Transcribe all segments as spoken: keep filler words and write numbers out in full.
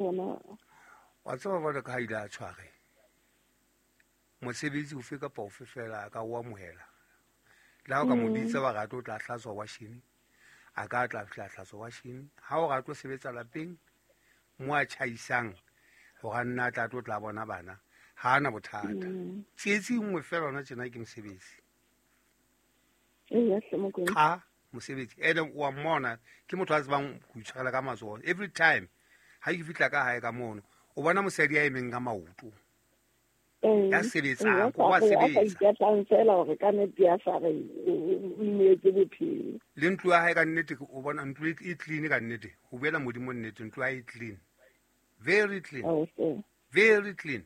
Ona. Wa tseba jwalo ka ha ile a tshware mosebetsi ofe kapa ofe fela a ka o amohela. Le ha o ka mo bitsa wa re a tlo tla hlatswa washene, a ka tla fihla hlatswa washene. Ha o re a tlo sebetsa lapeng mo a tjhaisang hore a nna a tla tlo tla bona bana, ha ana bothata. Tsietsi e nngwe fela hona tjena ke mosebetsi. Eya hle Mokwena. Cha mosebetsi. Ene wa mmona ke motho a tsebang ho itshwarela ka matsoho. Every time ha ke fihla ka hae ka mono, o bona mosadi a emeng ka maoto. Ya sebetsang, ko wa sebetsa. Ikatlang fela hore ka nnete ya sa re o ineetse bophelo. Le ntlo ya hae ka nnete o bona ntlo e clean ka nnete. Ho buela Modimo nnete, ntlo ya hae e clean. Very clean. Oh, okay. Very clean.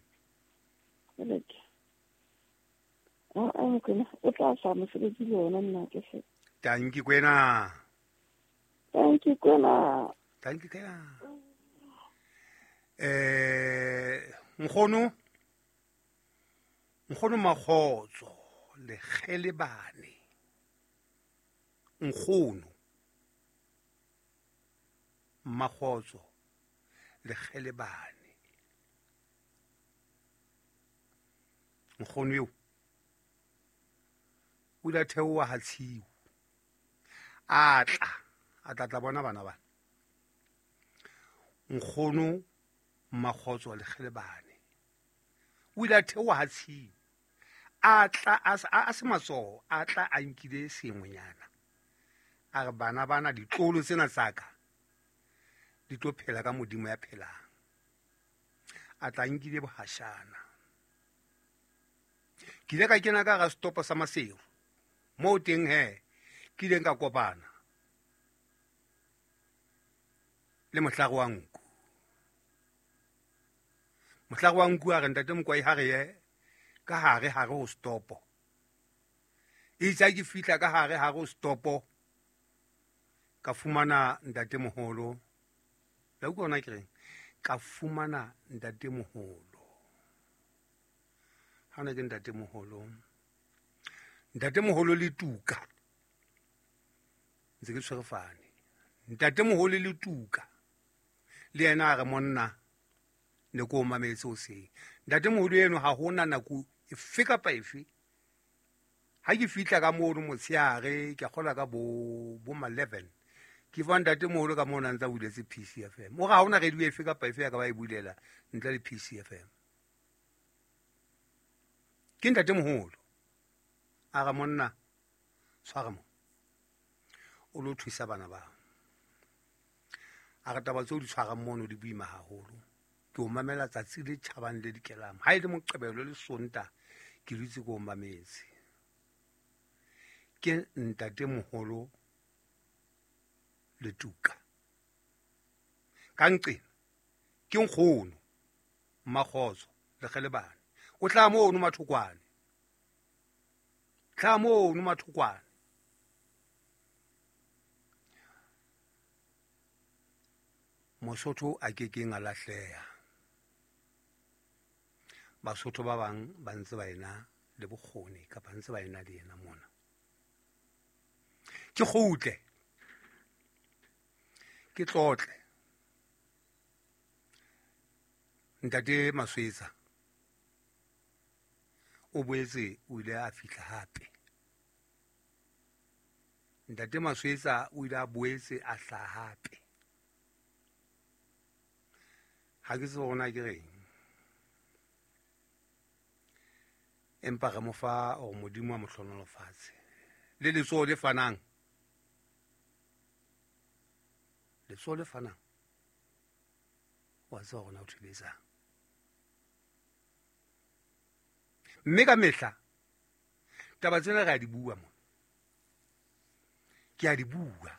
Ah, ah, Mokwena, o tla sa mosebetsi le ona nna ke se. Thank you Kwena. Thank you Kwena. Thank you Kwena. Eh, nkgono Nkgono Makgotso Lekgelebane. Nkgono Makgotso Lekgelebane. Nkgono eo o ile a theoha ha tshiu. A tla, a tla tla bona bana bana. Nkgono Makgotso Lekgelebane o ile a theoha ha tshiu. A tla a a se matsoho, a tla a nkile sengwenyana. A re bana bana ditlolo tsena tsa ka di tlo phela ka Modimo ya phelang. A tla nkile bohashana. Ke ile ka kena ka hara setopo sa Maseru. Moo teng he ke ileng ka kopana le mohlare wa nku. Mohlare wa nku a re ntate Mokwai ha re ye ka hare hare ho setopo. Itse ha ke fihla ka hare hare ho setopo ka fumana ntate moholo. La utlwa hona ke reng? Ka fumana ntate moholo. Ha ona ke ntate moholo. Ntate moholo le tuka. Ntse ke tshwere fane. Ntate moholo le tuka. Le yena a re monna ne ko o mametse hoseng. Ntate moholo eno ha hona nako efe kapa efe. Ha ke fihla ka mono motshehare ke kgola ka bo bo ma eleven. Ke fa ntate moholo ka mona ntsa buletse P C F M. O re ha hona radio efe kapa efe ya ka ba e bulela ntle le P C F M. Ke ntate moholo. A re monna tshwara mo. O lo thusa bana ba. A re taba tseo di tshwarang mono di boima haholo. Ke o mamela tsatsi le tjhabang le dikelang. Ha e le Moqebelo le Sonta ke dutse ke o mametse. Ke ntate moholo le tuka. Ka nqena ke nkgono Makgotso Lekgelebane. O tla mono Mathokwane. Tla mono Mathokwane. Mosotho a ke keng a lahleha. Basotho ba bang ba ntse ba ena le bokgoni kapa ntse ba ena le yena mona. Ke kgutle. Ke tlotle. Ntate Maswetsa o boetse o ile a fihla hape. Ntate Maswetsa o ile a boetse a hlaha hape. Ha ke tsebe hore na ke reng. Empa re mo fa hore Modimo a mo hlohonolofatse. Le letsoho le fanang. Letsoho le fanang. Wa tseba hore na o thuletsang. Mme ka mehla taba tsena re a di bua mona. Ke a di bua.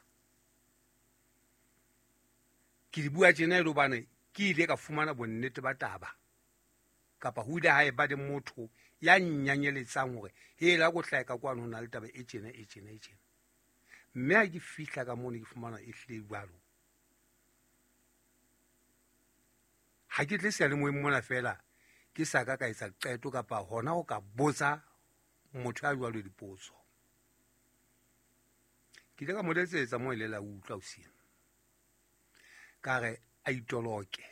Ke di bua tjena e le hobane ke ile ka fumana bonnete ba taba. Kapa ho ile ha eba le motho ya nnyanyeletsang hore hela ko hlaha ka kwano ho na le taba e tjena e tjena e tjena. Mme ha ke fihla ka mono ke fumana e hlile jwalo. Ha ke tle seyalemoyeng mona fela ke sa ka ka etsa qeto kapa hona ho ka botsa motho ya jwalo dipotso. Ke ile ka mo letsetsa moo e ile la utlwa hoseng. Ka re a itoloke.